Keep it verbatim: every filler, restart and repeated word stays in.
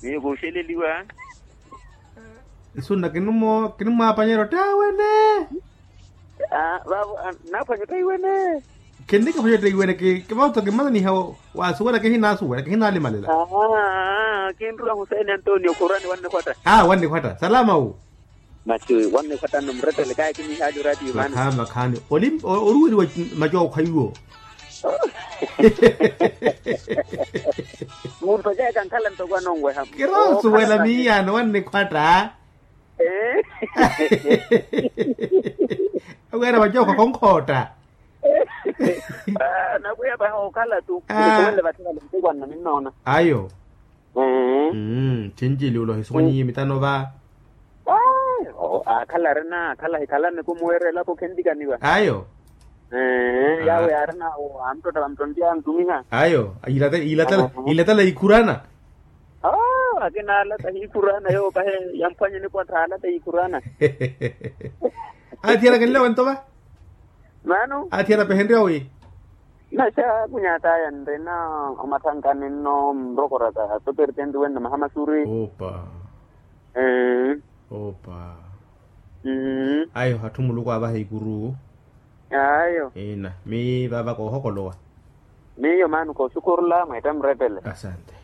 Miyo kuxeleliwa. Nsunna kinimwaapanyerya ottaiwene. Vavo naaphwanya ottaiwene. Kinnikiphwanya ottaiwene. Kivauto kimmananiha. Waasuwela kihinasuwela kihinalimalela. Kinrula husaini antonio khurani wannikhwatta. Aa wannikhwatta salama wu. Masi wannikhwatta nno mrettele kaakinihaali oratiyo maani. Makhaani makhaani. Oruweriwa macookho iwo. Munto caye kankhala ntoko anonweha. Kirosuwela miyaano wannikhwatta. Aweera vacookho khonkhootta. Nakwiya vaha okhala tu. Nisuwele vathi vale ntikwanna ninnoona. Ayo. Thinci iluula ohisumwanyiye mitano va. Aakhala arina akhala ahikhalani kumuweerya elapo khentikaniwa. Ayo. Yaawe yaarina amuttotta vamuttontiya antumiha. Ayo. Ilatala ikhurana. Akina alata hikhurana yoopahe yamphwanye nikwattha alata hikhurana. Athiyana kenle wentova. Mano. Athiyana pehenrya wi. Naxa kunyataya nrina omathankani nno mrokoraka sopertenti wenna mahamasuri. Opa. Opa. Ayo hatthi muluku avaha ikuru. Ayo. Ina mi vava koohokolowa. Miyo mano koosukurula mweetta murettele. Asante.